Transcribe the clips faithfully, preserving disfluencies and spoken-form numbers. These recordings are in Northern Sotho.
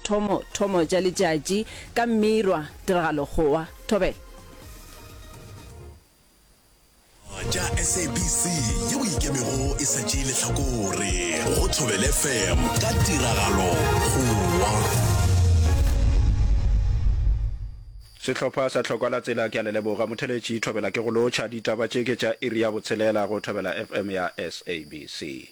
mathomo thomo tša letšatši ka mmirwa tiragalo kgowa thobela. Tša S A B C yeo e ikemego e sa tšee lehlakore go Thobela F M ka tiragalo kgowa. Sehlopha sa Tlhokwa la Tsela ke a le leboga. Motheletši Thobela ke go lotšha. Ditaba tše ke tša iri ya botshelela go Thobela F M ya S A B C.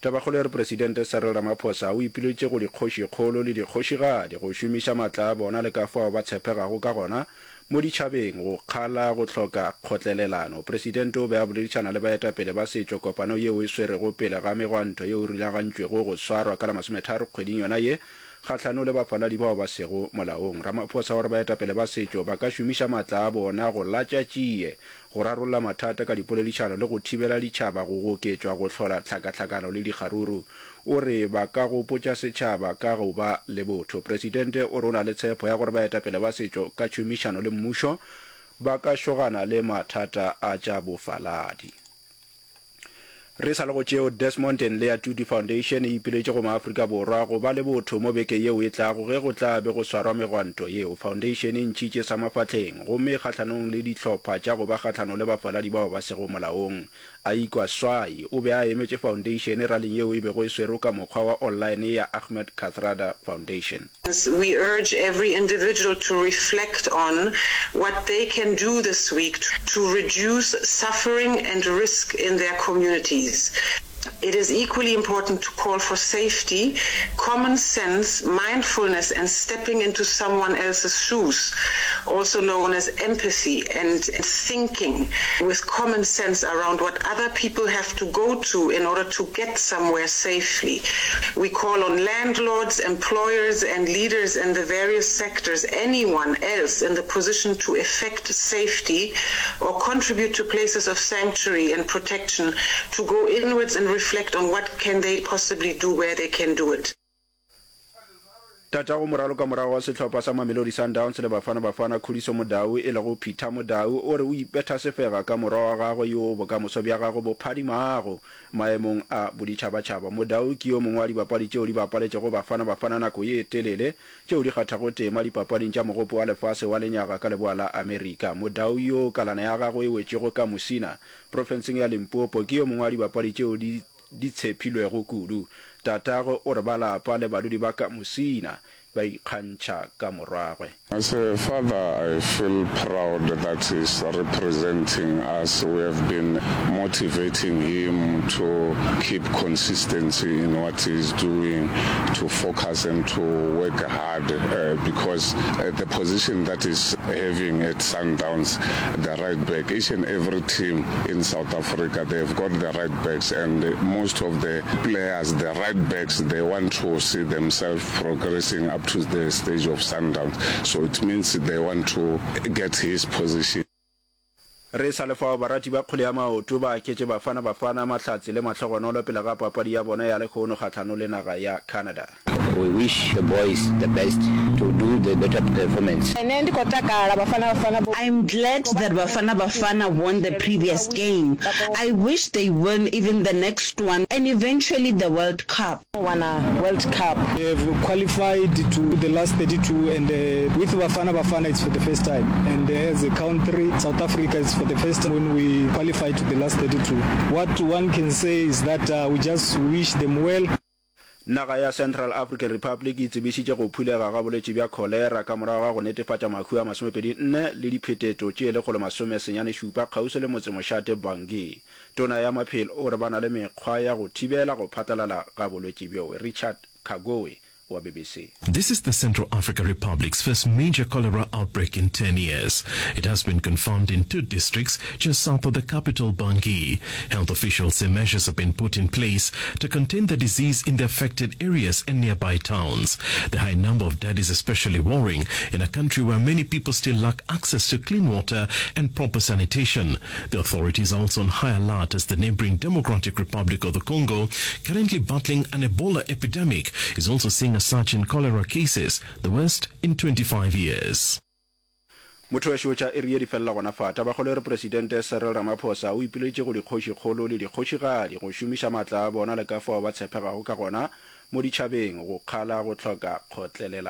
Tabakgolo e re Presidente Cyril Ramaphosa o ipileditše go dikgošikgolo le dikgošigadi go šomiša matla a bona le ka fao ba tshepegago ka gona mo ditšhabeng go kgala go hloka kgotlelelano. Presidente o be a boledišana le baetapele ba setšo kopano yeo e swerego pele ga megwanto yeo e rulagantšwego go swarwa ka la masometharo kgweding yona ye kgahlano le bafaladi bao ba sego molaong. Ramaphosa o re baetapele ba setšo ba ka šomiša matla a bona go latša tšie, go rarolla mathata ka dipoledišano le go thibela ditšhaba go goketšwa go hlola tlhakatlhakano le dikgaruru. O re ba ka gopotša setšhaba ka go ba le botho. Presidente o re o na le tshepo ya gore baetapele ba setšo ka tšhomišano le mmušo ba ka šogana le mathata a tša bofaladi. Re sa le go tšeo, Desmond and Leah Tutu Foundation e ipiletše go maAfrika Borwa go ba le botho mo beke yeo e tlago ge go tla be go swarwa megwanto yeo. Foundation e ntšhitše sa mafahleng gomme e kgahlanong le dihlopha tša go ba kgahlanong le bafaladi bao ba sego molaong. Aikwa Swai o be a emetše foundation raling yeo e bego e swerwe ka mokgwa wa online ya Ahmed Kathrada Foundation. We urge every individual to reflect on what they can do this week to reduce suffering and risk in their communities. It is equally important to call for safety, common sense, mindfulness and stepping into someone else's shoes, also known as empathy and thinking with common sense around what other people have to go to in order to get somewhere safely. We call on landlords, employers and leaders in the various sectors, anyone else in the position to effect safety or contribute to places of sanctuary and protection to go inwards and reflect on what can they possibly do where they can do it. Tatago moralokamorago wa sehlopha sa Mamelodi Sundowns le Bafana Bafana Khuliso Mudau e lego Peter Mudau o re o ipetha sefega ka morwa wa gagwe yoo bokamoso bja gagwe bo phadimago maemong a boditšhabatšhaba. Mudau ke yo mongwe wa dibapadi tšeo di bapaletšego Bafana Bafana nako ye telele tšeo di kgathago tema dipapading tša Mogopo wa Lefase wa Lenyaga ka Leboa la Amerika. Mudau yoo kalana ya gagwe e wetšego ka Musina profenseng ya Limpopo ke yo mongwe wa dibapadi tšeo di di tshephilwego kudu. Tatagwe o re ba lapa le badudi ba ka Musina ba ikgantšha ka morwagwe. As a father I feel proud that he's representing us, we have been motivating him to keep consistency in what he's doing, to focus and to work hard because the position that he's having at Sundowns, the right back, each and every team in South Africa they've got the right backs and most of the players, the right backs, they want to see themselves progressing up to the stage of Sundowns, so it means they want to get his position. Re sa le fao, barati ba kgwele ya maoto ba aketše Bafana Bafana mahlatse le mahlogonolo pele ga papadi ya bona ya lehono kgahlano le naga ya Canada. We wish the boys the best to do the better performance. Nṋe ndi khou takala Bafana Bafana vho. I'm glad that Bafana Bafana won the previous game. I wish they win even the next one and eventually the World Cup. Wana World Cup. We have qualified to the last thirty-two and with Bafana Bafana it's for the first time and as a country South Africa it's for the first time when we qualify to the last thirty-two. What one can say is that we just wish them well. Naga ya Central African Republic e tsebišitše go phulega ga bolwetši bja kholera ka morago ga go netefatša mahu a masomepedi nne le diphetetšo tše lekgolo masome senyane šupa kgauswi le motsemošate Bangui. Tona ya Maphelo o re ba na le mekgwa ya go thibela go phatlalala ga bolwetši bjo. Richard Kagoe wa B B C. This is the Central Africa Republic's first major cholera outbreak in ten years. It has been confirmed in two districts just south of the capital, Bangui. Health officials say measures have been put in place to contain the disease in the affected areas and nearby towns. The high number of dead is especially worrying in a country where many people still lack access to clean water and proper sanitation. The authorities are also on high alert as the neighboring Democratic Republic of the Congo, currently battling an Ebola epidemic, is also seeing a surge in cholera cases, the worst in twenty-five years. Motho wešo tša iri ye di felela gona fa. Tabakgolo e re Presidente Cyril Ramaphosa o ipileditše go dikgošikgolo le dikgošigadi go šomiša maatla a bona le ka fao ba tshepegago ka gona mo ditšhabeng go kgala go hloka kgotlelelano.